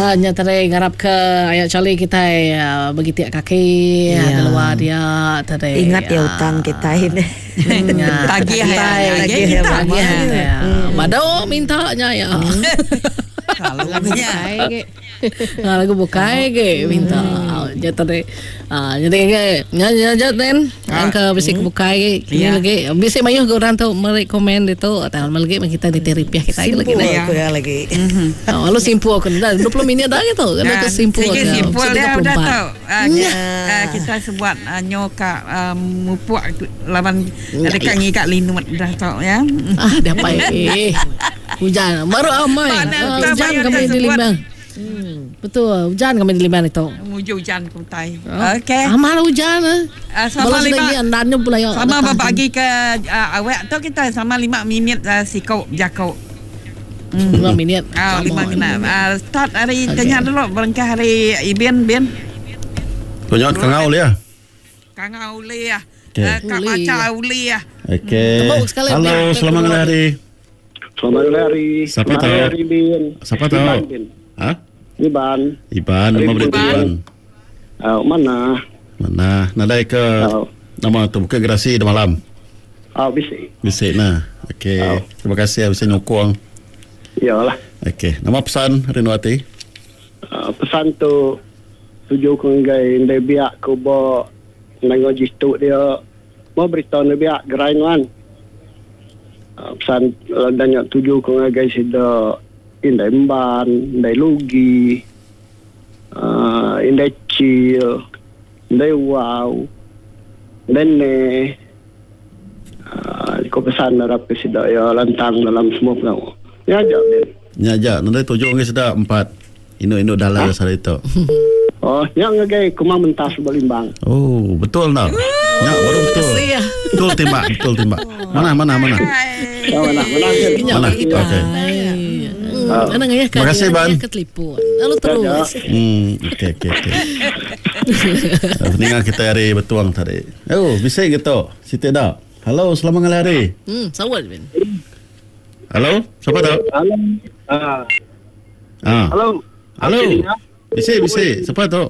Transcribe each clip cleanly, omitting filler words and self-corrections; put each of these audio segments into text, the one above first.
Ah nya tadi ngarap ke aya Charlie kitai begitik kaki yeah. luar dia tadi. Ingat ya utang kitai ni. Tagih ya. Tagih ya. Tagih ya. Bado minta nya ya. Lagu bukai ge. Lagu bukai ge minta. Nya tadi. Ah jadi ge nya nya aja then. Angka bisi ke bukai ge. Kini lagi bisi mayuh ge orang tu meri komen ditu tau lagi meh kita nitih ripih kita lagi neh. Simpul ku iya lagi. Oh lalu simpul ku dah 20 minit dah gitu. Kena ke simpul ke. Sigi simpul dia udah tu. Kita sebuat nyo ka mupuk laban deka ngiga linut dah tu ya. Ah dah pai. Hujan baru amai. Hujan kami di Limbang. Betul, hujan kami di Limbang itu. Muju hujan ke utai. Okey. Amal hujan ah. Sama lima. Sama berbagi ke awak tu kita sama 5 minit siko jako. 5 minit. Ah, 5 minit. Start hari tanya dulu berengkah hari Ibin bin. Tunyot kangau ulih. Kangau ulih. Ka baca ulih. Okey. Halo, selamat ngalih hari. Selamat ngalih hari. Siapa tu? Hari bin. Siapa tu? Ha? Iban. Iban, nama berita Iban. Uh, mana? Mana? Nadai ke uh. nama tu bukan gerasi di malam. Ah, uh, bisi. Bisi nah. Okey. Uh. Terima kasih bisi nyukung. Iyalah. Okey, nama pesan Rindu Ati? Uh, pesan tu tuju ku ngagai indai biak ku ba nengah jitu dia. Mau berita ne biak gerai nuan. Pesan udah nya tuju ku ngagai sida indai emban, indai lugi, uhh indai chil, indai wau, indai ne. Uhh ku pesan arap ke sida iya lantang dalam semua pengawa. Nya aja min. Nya aja nadai tuju ngagai sida empat indu-indu dalai sehari tu. Oh, nya ngagai Kumang Mentas ba Limbang. Oh, betul enda? Nya baru betul. Betul timbak, betul timbak. Manah, manah, manah. Oh, manah, manah. Manah. Okey. Anang ngayah ka. Terima kasih Ban. Ke telefon. Lalu terus. Hmm, okey okey okey. Ninga kita hari betuang tadi. Oh, bisi ke tu? Siti dak. Halo, selamat ngalih hari. Sawat bin. Halo, siapa tu? Halo. Ah. Ah. Halo. Halo. Bisi bisi. Siapa tu?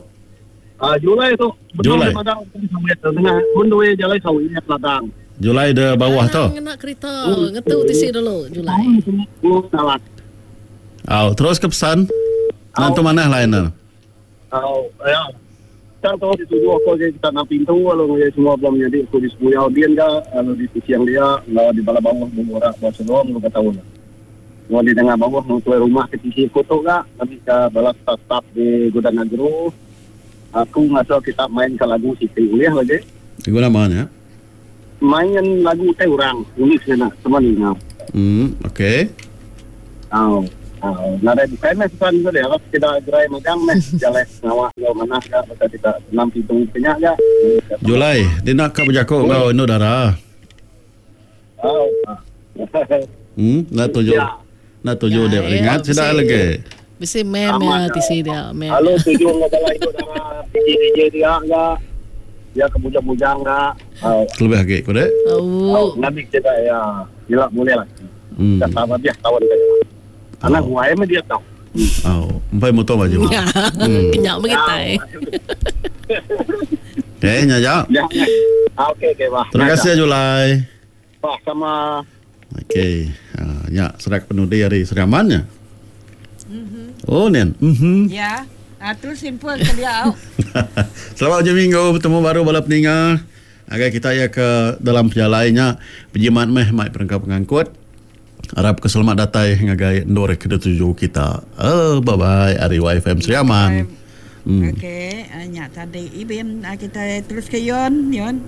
Ah, Julai tu. Julai. Padang tengah bundui jalai sawi nya ladang. Julai de bawah tu. Ngena kereta ngetu tisi dulu Julai. Au, terus ke pesan. Nantu manah lain ne. Au, ya. Tang tu dituju aku agi kita nang pintu lalu ngagai semua bala menyadi aku di Sebuyau din ga lalu di Kuching dia enggau di bala bauh Bung Ora Bau Selong lalu ka taun. Enggau di nengah bauh enggau tuai rumah ke tisi aku tu ga ngambika bala staf-staf di Gudang Agro aku ngasuh kita main ka lagu siti ulih lagi. Lagu nama nya? Main lagu utai orang unik ngena sama ninga. Hmm okey. Au au nadai bukai meh pesan ku dia sekeda gerai magang meh jalai pengawa enggau manah ga baka kita enam pintu ke nya ga. Julai dina ka bejaku enggau indu dara. Au. Hmm enda tuju. Enda tuju dia ringat sida lagi. Bisi mem ya tisi dia mem. Lalu tuju enggau bala indu dara DJ DJ dia ga. Dia ke bujang-bujang ga. Kelebih agi ku dek. Au. Ngambi sida iya ila bulih laki. Hmm. Dah sama biah taun ke ila. Anak guai meh dia tau. Au, empai muto baju. Hmm. Kenyap meh kitai. Okey, nya aja. Ya. Okey, okey, bah. Terima kasih Julai. Bah, sama. Okey. Uh, nya serak penudi hari Sri Aman nya. Mm-hmm. Oh, Nen. Mhm. Ya. Uh, terus simple ke dia. Selamat hujung minggu bertemu baru bala peninga. Agai kita ya ke dalam pejalai nya bejimat meh mai perengka pengangkut. Arap ke selamat datai ngagai endur ke dituju kita. Oh, bye bye ari YFM Sri Aman. Hmm. Okey, eh, nya tadi Ibin ah, kita terus ke Yon, Yon.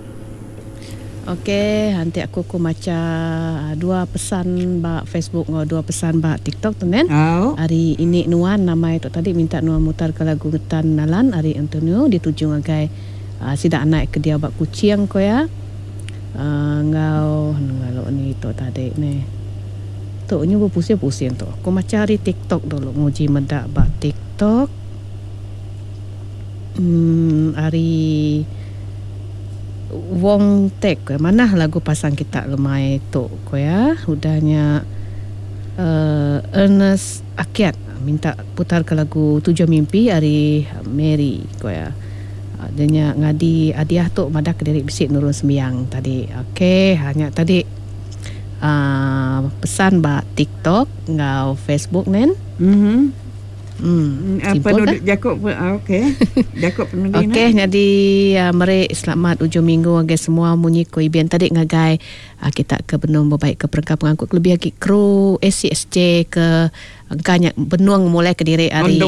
Okey, anti aku ku macha ah, dua pesan ba Facebook enggau dua pesan ba TikTok tu nen. Au. Ari ini nuan nama itu tadi minta nuan mutar ke lagu Ngetan Nalan ari Antonio dituju ngagai uh, sida anak ke diau ba Kuching ko ya. Enggau lalu ni tu tadi neh. Tu nyu bepusing-pusing tu. Aku macha ari TikTok dulu nguji meda ba TikTok. Uhh ari Wong Tek ko manah lagu pasang kita lemai tu ko iya. Udah nya uhh Ernest Akiat. Minta putar ke lagu Tujuh Mimpi ari Mary ko iya. Dia nya ngadi hadiah tu madah ke diri bisi nurun sembiang tadi. Okey ha nya tadi uhh pesan ba TikTok enggau Facebook nen. Mhm. Hmm. Apa nu jaku okey. Jaku penudi Okey nyadi meri selamat ujung minggu ngagai semua munyi ko Ibin tadi ngagai kita ke benung bebaik ke perengka pengangkut kelebih agi kru ACSJ ke Engka nya benung mulai kediri ari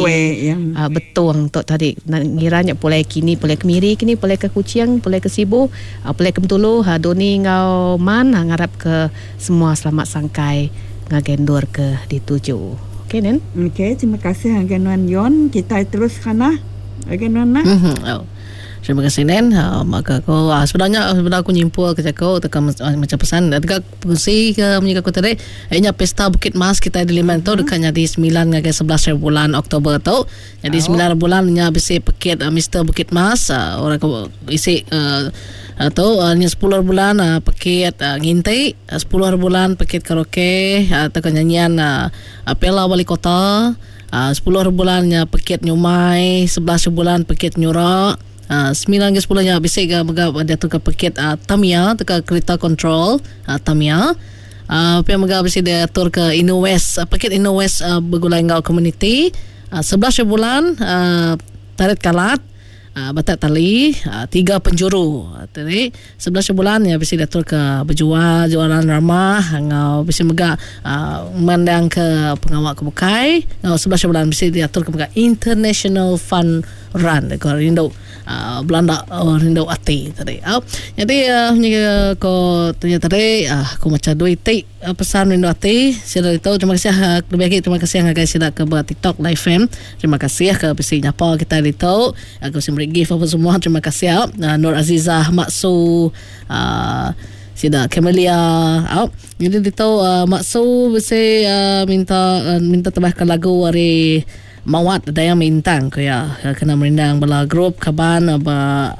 Betong tu tadi ngira nya pulai kini pulai ke Miri kini pulai ke Kuching pulai ke Sibu pulai ke Bentulu Doni enggau Man ngarap ke semua selamat sangkai ngagai endur ke dituju. Okey nen. Okey terima kasih ngagai nuan Yon kitai terus kana ngagai nuan nah. Terima kasih nen. Maka aku sebenarnya sebedau aku nyimpul ke jaku teka macam pesan teka Pengusi ke munyi ke aku tadi iya nya Pesta Bukit Mas kitai di Liman tu deka nyadi semilan ngagai 11 hari bulan Oktober tu. Nyadi semilan hari bulan nya bisi pekit Mister Bukit Mas orang ke isi tu nya sepuluh hari bulan pekit nginti, sepuluh hari bulan pekit karaoke tauka nyanyian Piala Wali Kota, sepuluh hari bulan nya pekit nyumai, 11 hari bulan pekit nyura. Semilan ke sepuluh nya bisi ga mega diatur ke pekit Tamiya tauka kerita kontrol Tamiya. Pia mega bisi diatur ke Inno West pekit Inno West begulai enggau komuniti. 11 hari bulan tarit kalat batak tali tiga penjuru. Tadi 11 hari bulan nya bisi diatur ke bejual jualan ramah enggau bisi mega mandang ke pengawa ke bukai. Enggau 11 hari bulan bisi diatur ke mega International Fun Run ko rindu belanda rindu ati tadi. Nyadi ko tanya tadi aku macha dua iti pesan rindu ati sida ditu terima kasih lebih agi terima kasih ngagai sida ke ba TikTok live fam. Terima kasih ke bisi nyapa kitai ditu ke bisi meri gift apa semua terima kasih Nur Azizah Maksu sida Camelia. Nyadi ditu Maksu bisi minta minta tebahka lagu ari Mawat Dayang Mintang ku iya kena merindang bala grup kaban ba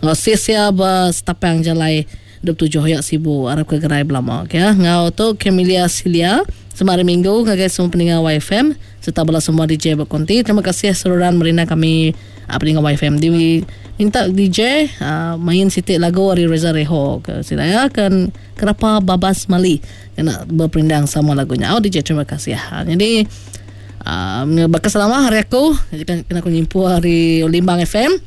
enggau sis iya ba Setapang Jalai 27 Hoyak Sibu arap ke gerai belama ke enggau tu Camelia Silia sema hari minggu ngagai semua peninga YFM serta bala semua DJ ba konti terima kasih seruran merindang kami peninga YFM di minta DJ main siti lagu ari Reza Reho ke sida iya kan kerapa babas mali kena beperindang sama lagu nya au DJ terima kasih jadi Baka selama hari aku kena aku nyimpu hari Limbang FM.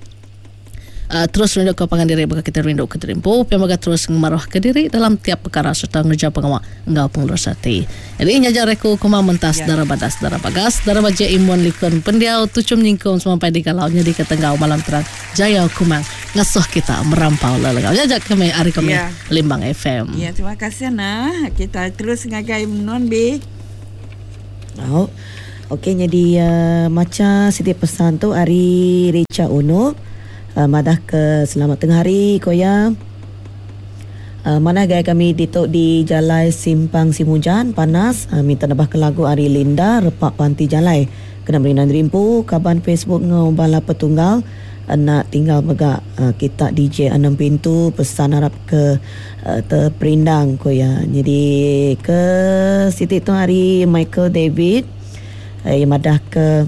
Terus rindu ke pangan diri baka kita rindu ke diri empu pia mega terus ngemaruh ke diri dalam tiap perkara serta ngereja pengawa enggau pengelurus ati. Jadi nya aja ari aku kumang mentas yeah. Dara badas dara bagas dara baje imun likun pendiau tuchum nyingkung semampai digalau nyadi ke tenggau malam terang jaya kumang ngasuh kita merampau lelengau. Nya aja kami ari kami yeah. Limbang FM. Ya, yeah, terima kasih nah. Kita terus ngagai Nuan B. Au. Okey nyadi uh, macha siti pesan tu ari Richa Unup uh, madah ke selamat tengah hari ko iya. Uh, manah gaya kami ditu di Jalai Simpang Simujan panas uh, minta nebah ke lagu ari Linda Repak Panti Jalai kena merindang diri empu kaban Facebook enggau bala petunggal enda tinggal mega uh, kita DJ Anang Pintu pesan arap ke Teperindang ku iya. Nyadi ke siti tu hari Michael David iya madah ke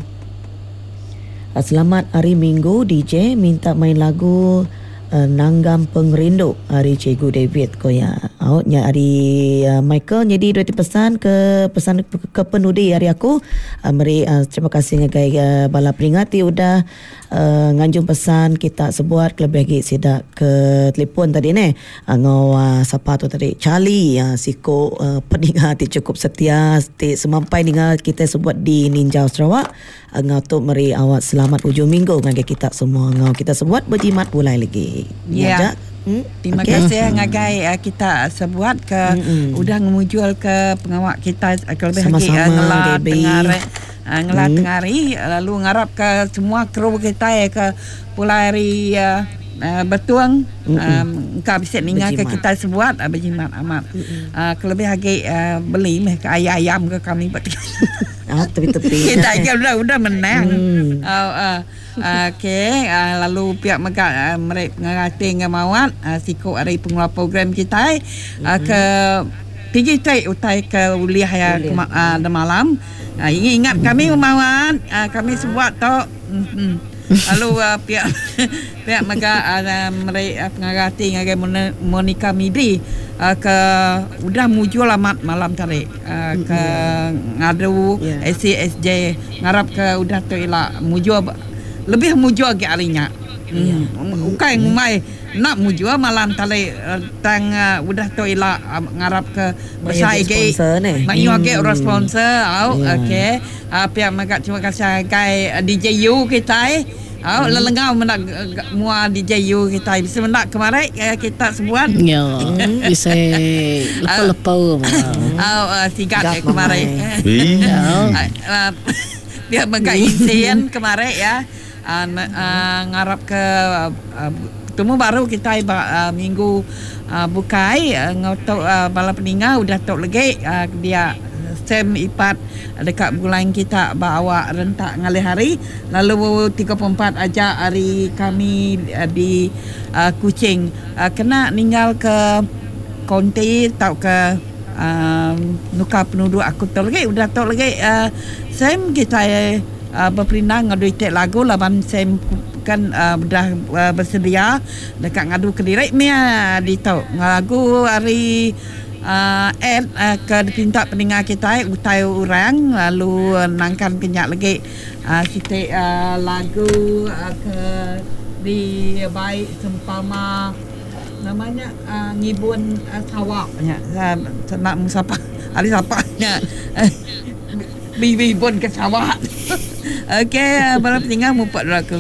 Selamat hari minggu DJ minta main lagu Nanggam Pengerindu ari Cikgu David ku iya. Au nya ari Michael nyadi dua iti pesan ke pesan ke penudi ari aku meri terima kasih ngagai bala peninga ti udah Nganjung pesan kita sebuat kelebih agi sida ke telefon tadi neh enggau sapa tu tadi Charlie siku peninga ti chukup setia ti semampai ninga kitai sebuat di Ninjau Sarawak enggau tu meri awak selamat ujung minggu ngagai kita semua enggau kita sebuat bejimat pulai lagi. Nya aja. Terima kasih ngagai kita sebuat ke udah ngemujul ke pengawa kita kelebih agi ngela tengah Ngela tengah hari lalu ngarap ka semua kru kitai ke pulai ari Betong engka bisi ninga ka kitai sebuat bejimat amat kelebih agi beli meh ka ayam ayam ka kami ba kitai ke udah udah menang okay lalu pia mega meri pengarati enggau mawat siku ari pengeluar program kitai ke. Tigi ti utai ke ulih iya demalam. Ingat kami mawat kami sebuat tu. Lalu pia pia mega meri pengaga ati ngagai Monica Midi ke udah mujur amat malam tadi ke ngadu ACSJ ngarap ke udah tu ila mujur lebih mujur agi ari nya. Ukai ngumbai enda mujur malam tadi tang udah tu ila ngarap ke besai agi mayuh agi orang sponsor au okey. Pia mega terima kasih ngagai DJ U kitai. Au lelengau meda mua DJ U kitai. Bisi meda kemari kita sebuat. Ya. Bisi lepa-lepa. Au sigat kemari. Pia mega izin kemari ya. Ngarap ke betemu baru kitai ba minggu bukai enggau tu bala peninga udah tu legi dia Sam Ipat deka begulai kita ba awak rentak ngalih hari lalu 34 aja ari kami di Kuching kena ninggal ke konti tauka nukar penuduk aku tu legi udah tu legi Sam kitai Beperindang ngadu iti lagu laban Sam kan udah besedia deka ngadu kediri mih ditu. Lagu ari Ed ke dipinta peninga kitai utai orang lalu nangkan ke nya legi siti lagu ke dibai sempama nama nya ngibun sawa nya enda mung sapa ari sapa nya. Bibibun ke sawa. Okey, bala peninga mupuk dulu aku.